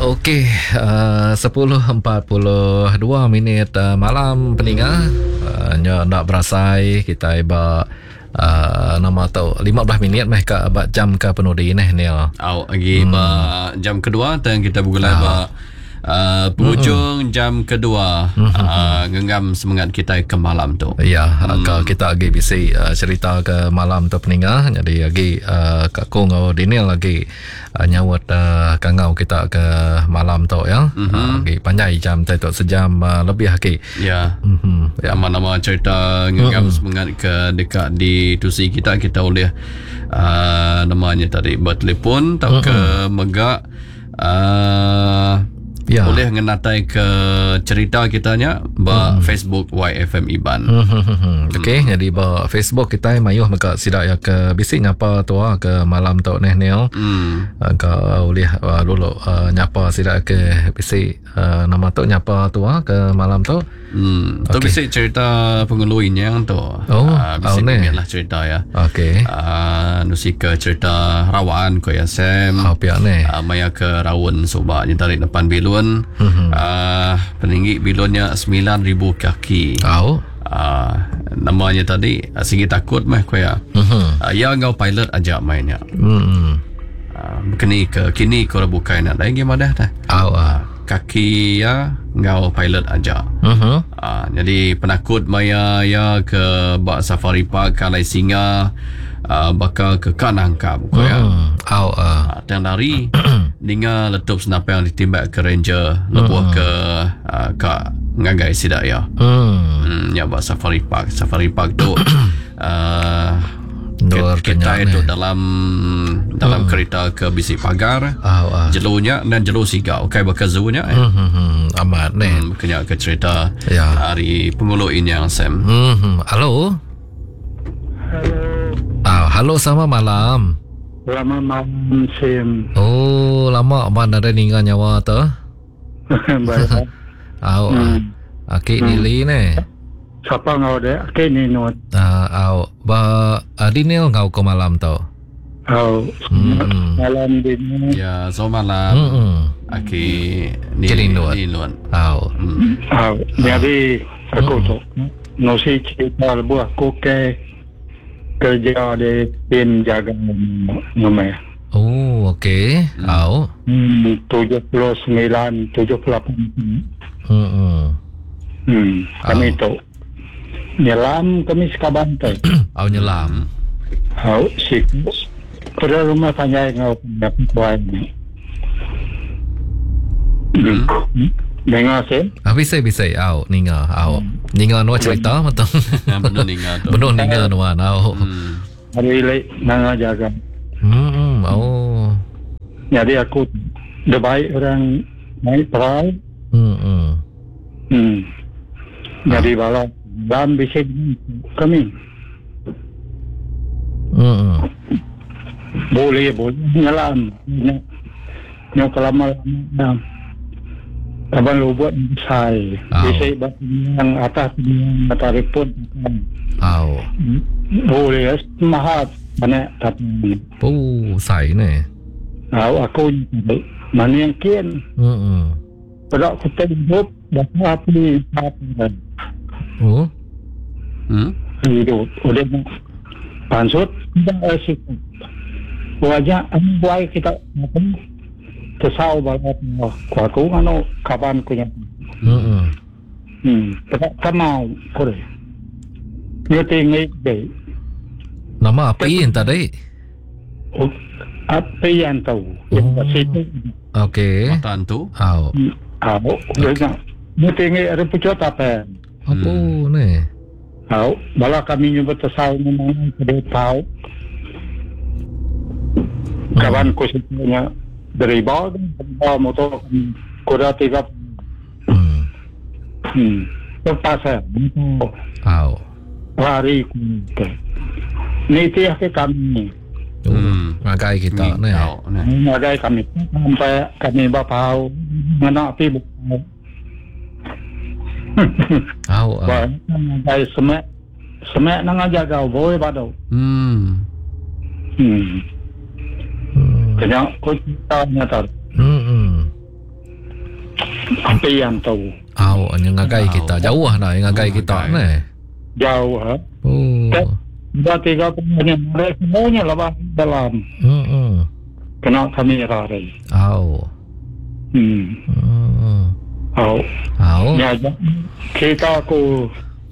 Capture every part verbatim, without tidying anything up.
Okey, uh, sepuluh empat puluh dua minit uh, malam peninga. Uh, nya nak berasai kita ba uh, nama tu lima belas minit meh ka ba jam ke penudi neh Neil. Au lagi hmm. ba jam kedua tang kita bergulai ah. ba Uh, penghujung mm-hmm. jam kedua mm-hmm. uh, ngenggam semangat kita ke malam tu. Ya, hmm. Ke kita lagi bisi uh, cerita ke malam tu peninga. Jadi lagi uh, Kak Kong atau Daniel lagi uh, nyawut uh, kangau kita ke malam tu ya. Mm-hmm. Uh, lagi panjai jam tu sejam uh, lebih lagi. Ya. Mm-hmm. Ya, nama-nama cerita ngenggam mm-hmm. semangat ke dekat di tusi kita kita boleh uh, namanya tadi bertelefon atau mm-hmm. ke megak uh, ya. Boleh ngenatai ke cerita kitanya ba hmm. Facebook Y F M Iban. Hmm, hmm, hmm. Okey, hmm. Jadi ba Facebook kita mayuh mega sidak ya ke bisi nyapa tua ke malam tu neh Neil. Hmm. Ke boleh uh, lulu uh, nyapa sidak ke bisi uh, nama tu nyapa tua ke malam tu. Hmm. Tu okay. Bisi cerita pengulu inyang tu. Oh, uh, bisi oh, lah cerita ya. Okey. Uh, nusi ke cerita rawan ko ya Sam. Oh, pihak ni. Uh, maya ke rawon subak nyetarik depan bilun. Mm-hmm. Uh, peninggi bilunnya sembilan ribu kaki. Oh. Uh, namanya tadi uh, sigi takut meh ko ya. Mm-hmm. Uh, ya ngau pilot aja mainnya. Mm-hmm. Uh, kini ke kini ko bukai nak lagi madah dah. Oh. Uh. Kaki ya ngau pilot aja. Uh-huh. Uh, jadi penakut maya ya ke bak safari park kalai singa uh, bakal ke kanangkap ko ya. Mm. Oh, uh. Uh, tang lari ninga letup senapang ditimbak ke ranger lebuh mm. ke uh, ka ngagai sidak ya. Mm. Hmm, ya bak safari park safari park tu uh, kita itu dalam dalam hmm. kereta ke bisi pagar oh, uh. jelunya dan jelu sigau kai bakal zoo-nya eh. Hmm, hmm, hmm. Amat ni hmm, kena ke cerita ya. Hari pengulu ini yang Sam. Hmm, hmm. Halo. Halo. Ah, halo sama malam. Lama malam Sam. Oh, lama mana ada ninga nyawa tu. Baik. Au. Hmm. Aki hmm. Nili ni. Siapa ngau dek? Aki ni not. Ah, au. Ba Adinil ngau ke malam tu. Au. Hmm. Malam dini. Ya, so malam. Hmm. Aki ni ni luan. Au. Hmm. Au. Jadi aku tu nosi cerita lebuh aku ke kerja di tim jaga nama. Oh, okey. Hmm. Au. Hmm, tujuh puluh sembilan, tujuh puluh lapan. Hmm. Hmm, kami tu nyelam kami sekaban tu. Au nyelam. Au si pada rumah panjai ngau puan ni. Hmm. Dengar sih? Ah, bisa bisa au ninga au. Ninga nuan cerita betul. Benar ninga tu. Benar ninga nuan au. Hmm. Hari lek nanga jaga. Hmm, oh. Jadi aku dah baik orang naik perahu. Hmm. Hmm. Hmm. Jadi bala dalam bisik kami. Hmm. Boleh boleh nyelam. Nyok lama-lama. Abang lubut besar. Oh. Bisik yang atas matahari pun. Oh. Boleh mahat banyak tapi. Oh, sai ni. Oh, aku mana yang kian. Hmm. Pada aku hidup dah api api. Oh. Hmm. Hidup udah pansut dah asik. Wajah ambuai kita tesau balat aku anu kapan punya. Hmm. Hmm. Tak kamau kore. Ni tinggi deh. Nama apa yang tadi? Oh, apa yang tahu? Oh. Okey. Matan tu. Oh. Oh, okay. Ni tinggi ada pucuk apa? Apa hmm. ni? Oh, bala kami nyebut tesau memang kedai tahu. Kawan ku sebenarnya dari bawah, bawah motor kuda tiga. Hmm. Hmm. Lepas saya. Oh. Lari ku. Ni tiap ke kami. Hmm. Ngagai kita ni. Ngagai kami sampai kami bapau mana api bukan. Oh. Wah, ngagai semek semek nang aja gau boleh badu. Hmm. Hmm. Kena kau cerita nyata. Hmm. Api hantu. Au, yang ngagai kita jauh dah yang ngagai kita ni. Jauh ha. Oh. Dua tiga punya semuanya lah dalam. Hmm. Kena kamera ni. Au. Hmm. Hmm. Au. Au. Ya, kita aku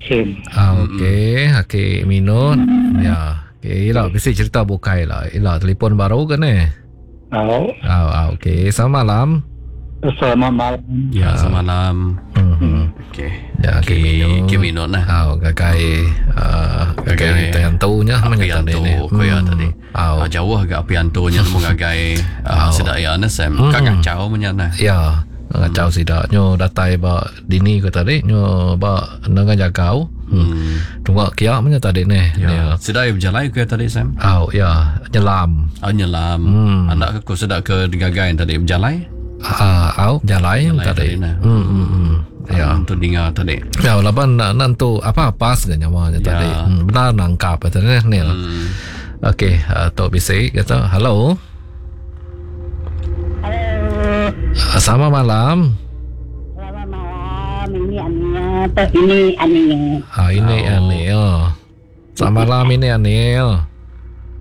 sim. Ah, okey, okey minut. Ya. Okey, ila bisi cerita bukai lah. Ila telefon baru ke ni? Au. Au, au, okey. Selamat malam. Selamat malam. Ya, selamat malam. Hmm. Okey. Ya, okey, okey minut lah. Au, gagai uh, gagai hantunya api hantu ko ya tadi. Au. Ah, jauh agak api hantunya nemu gagai uh, sedak ya na Sam. Hmm. Kak kacau menyana. Ya, ngacau sidak nyo datai ba dini ko tadi nyo ba dengan jagau. Hmm. Tunggu kia menya tadi ni. Ya. Sedak ya berjalan ke tadi Sam? Au, ya, nyelam. Ah, nyelam. Hmm. Anak aku sedak ke gagai tadi berjalan? Ah, au, jalan tadi. Nah. Hmm, hmm, hmm. Ya. Untuk dengar tadi. Ya, laban nak nantu apa pas ke nyawanya Ya. tadi. Hmm, benar nangkap tadi ni. Hmm. Okey, uh, Tok Bisik kata, halo. Halo. Uh, selamat malam. Selamat malam. Ini Ania. Tok ini Ania. Ah, ini Oh. Anil. Selamat malam ini Anil.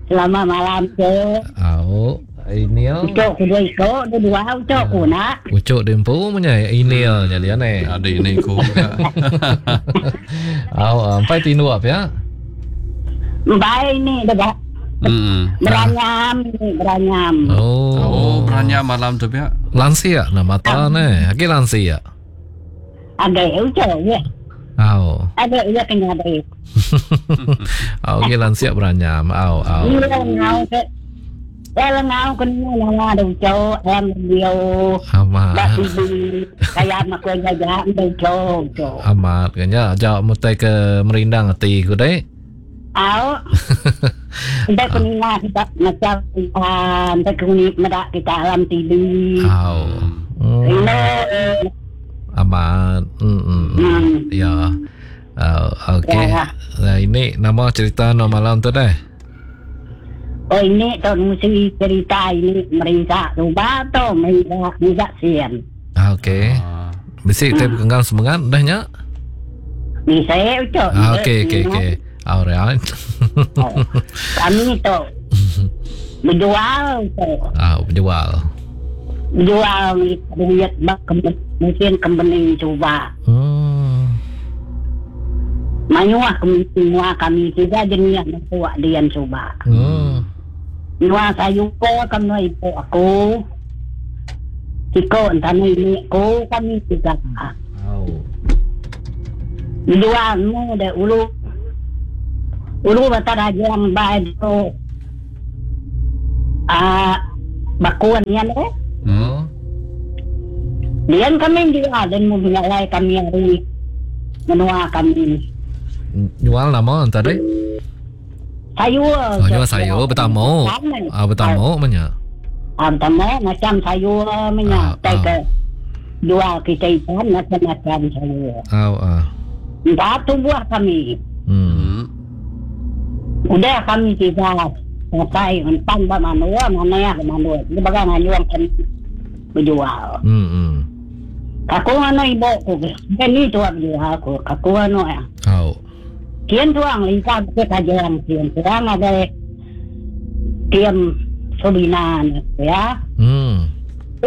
Selamat malam, Cik. Au, Inil. Ucok ku dua ikut, dua dua ucok ku nak. Ucok dempu punya Inil jadi aneh. Ada ini ku. Au, empai tindu apa ya? Baik ni dah dah. Hmm. Beranyam ni, beranyam. Oh. Oh, beranya malam tu pihak. Lansia nak mata ni. Lagi lansia. Ada ucok ya. Au. Ada ya kena ada. Au, lagi lansia beranyam. Au, au. Iya ngau ke. Eh ngau kena nama ada ucok, am dia. Amat. Dak tibi kaya mak ku jaja ada ucok, ucok. Amat kanya jauh mutai ke merindang hati ku dek. Au. Kita kuninga kita macam ah, kita kuning medak kita alam T V. Au. Hmm. Ini Amat. Hmm. hmm, hmm. Hmm. Ya. Uh, okey. Ya. Nah, ini nama cerita no malam tu deh. Oh ini tu mesti cerita ini merintah tu tu merintah merintah sian. Ah, okey. Ah. Bisi kita bergenggam semangat dah nya. Ni saya ucap. Ah, okey okey okey. Alright. Oh. Kami tu berjual tu. Ah, berjual. Berjual duit bak mungkin company cuba. Hmm. Mayuah kami semua kami tiga jenis buat dian cuba. Hmm. Nua sayu ko kami ibu aku. Siko entah ini aku kami tiga. Au. Dua mu de ulu. Ulu bata rajang bae tu. Ah bakuan yan eh. Hmm. Dian kami juga dan mu lai kami hari menua kami. Jual nama tadi? Sayur. Oh, jual sayur bertamu. Ah, bertamu banyak. Ah, bertamu macam sayur banyak. Ah, Tak ke jual kita ikan macam-macam sayur. Ah, ah. Entah tu buah kami. Hmm. Hmm. Udah kami tiga sampai empan ba manua mana ya manua. Dia bagai nganyuang kami berjual. Hmm. Hmm. Aku ano ibu aku. Ini tua berjual aku. Aku ano ya. Au. Kian tuang lingkar ke kajian kian tuang ada tiam sobinan ya. Hmm.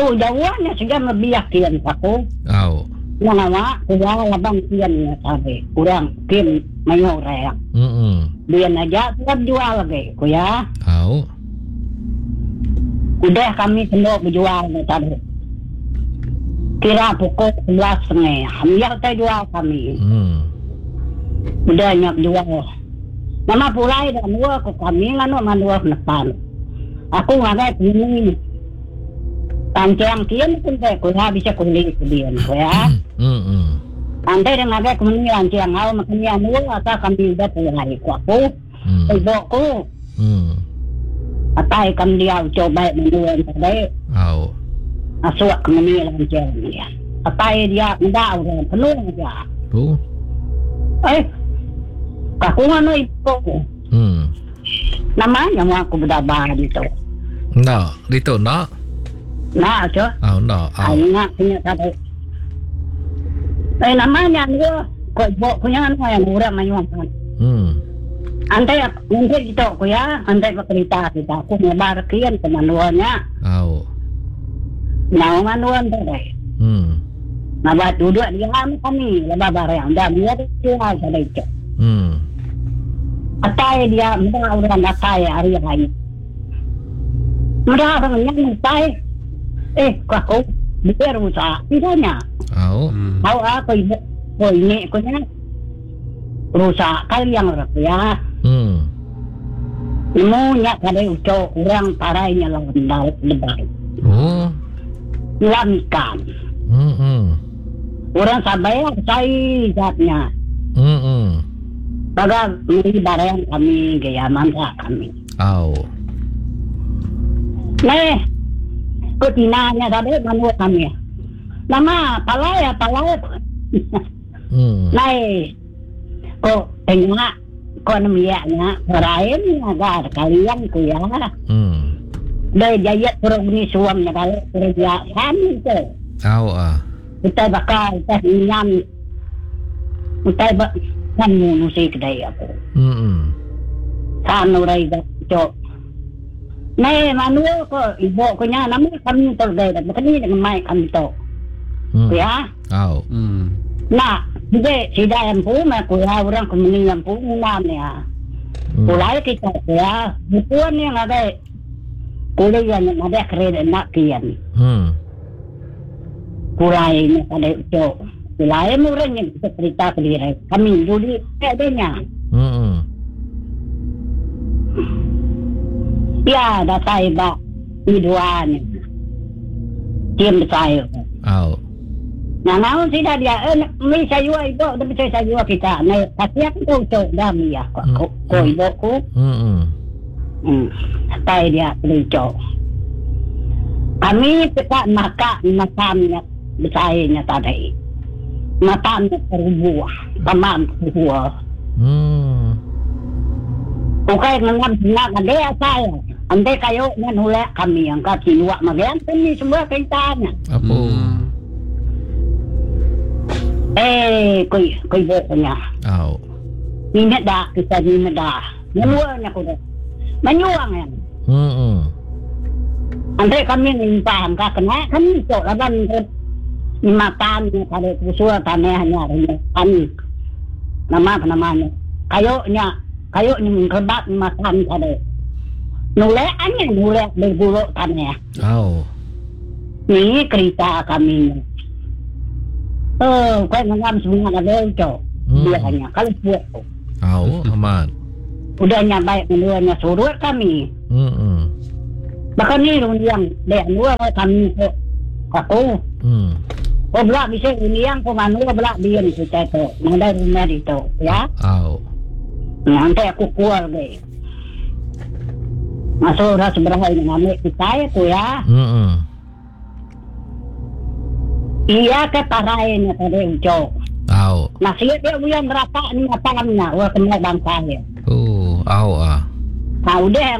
Oh jauhnya sudah lebih kian aku. Au. Nama kurang labang kian ya sabe. Kurang kian mayor ya. Hmm. Dia aja tetap jual lagi, ya. Au. Udah kami semua berjual tadi. Kira pukul sebelas setengah. Kami kita jual kami. Hmm. Udah nyak jual. Nama pulai dah dua ke kami nganu mandua depan. Aku ngagai ini. Pancang kian pun teh ku bisa kuling kian ya. Hmm. Hmm. Andai dah ngagai kuni lancang au makan dua atau kami udah pulai ku aku. Hmm. Ibu ku. Hmm. Atai kami dia coba mandua tadi. Au. Masuk ke meni lancang dia. Atai dia enggak orang penuh aja. Tu. Eh. Aku nganu ibu. Hmm. Namanya mau aku berdabah gitu. Nak, itu nak. Nak je. Ah, nak. Ah, Au. nak punya tadi. Eh namanya gua kok ibu punya anu yang orang mayuh kan. Hmm. Antai nanti kita ku ya, antai bercerita kita aku ngebar kian ke manuanya. Au. Nau manuan tu deh. Hmm. Nabat duduk dia kami, lebah barang dah dia dia ada itu. Hmm. Atai dia muda orang datai hari hari. Muda orang yang datai. Eh, kau aku biar rusak tidaknya. Au. Hmm. Tahu aku ibu, ko ini ko nya rusak kali yang orang ya. Hmm. Nemu nya kada ucok orang parainya lah laut lebay. Oh. Nyelam ikan. Hmm. Hmm. Orang sabai saya zatnya. Hmm. Hmm. Baga beli barang kami gaya mangga kami. Au. Neh, ko tinanya tadi manu kami. Nama palai ya palai. Hmm. Nai, ko tengok ko nemiaknya berain agar kalian ku ya. Hmm. Dari jayat kurang ni suam ya kalau kurang dia kami tu. Au ah. Kita bakal kita nyam. Kita bak kan manusia kedai aku. Hmm. San urai cok. Nai manu ko ibu ko nya nama kami tu gaya dah. Bukan ni dengan mai kami tu. Hmm. Ya. Au. Hmm. Nah, jadi sida yang pu ma ko ya orang kemeni yang pu ngam ya. Hmm. Kulai kita ya, bukan yang ada kulai yang ada kredit nak kian. Hmm. Kulai ni ada cok. Kulai murah yang kita cerita ke diri. Kami judi adanya. Hmm. Ya, datai ba ni dua ni. Tiam saya. Au. Nah, naon sida dia eh mi sayua ibu, dah bisa sayua kita. Nah, kasi aku tu cok dah mi ya. Ko ko ibu ku. Hmm. Hmm. Datai dia cok. Kami peka maka makamnya besarnya tadi. Matam terbuah, tamam terbuah. Hmm. Bukan ngam nak ada saya. Ande kayo ngan hula kami yang kat sinuak magian kami semua keritanya. Apa? Hmm. Eh, koi koi boknya. Au. Minat dah kita minat dah. Menyuangnya kuda. Menyuang ya. Hmm. Ande kami nimpah ka kena kami cok laban makan pada usul tanahnya kami. Nama apa namanya? Kayo nya, kayo ni mengkebat makan pada. Nuleannya nulek berguluk tanah. Au. Ni kereta kami. Oh, kau ngam semua ada cok. Hmm. Biasanya kalau buat Au, amat. udah nyampai menduanya surut kami. Hmm. Bahkan ni yang dek dua kami kok aku. Hmm. Oh belak bisa yang ko manu belak dia ni kita tu. Ada rumah di tu, ya. Au. Nanti aku keluar deh. Masuk dah seberapa ini ngambil kita ya tu ya. Hmm. Iya ke parai ni tadi ucok. Au. Nasi dia yang berapa ni apa namanya? Wah kena bangsa ya. Oh, au ah. Nah udah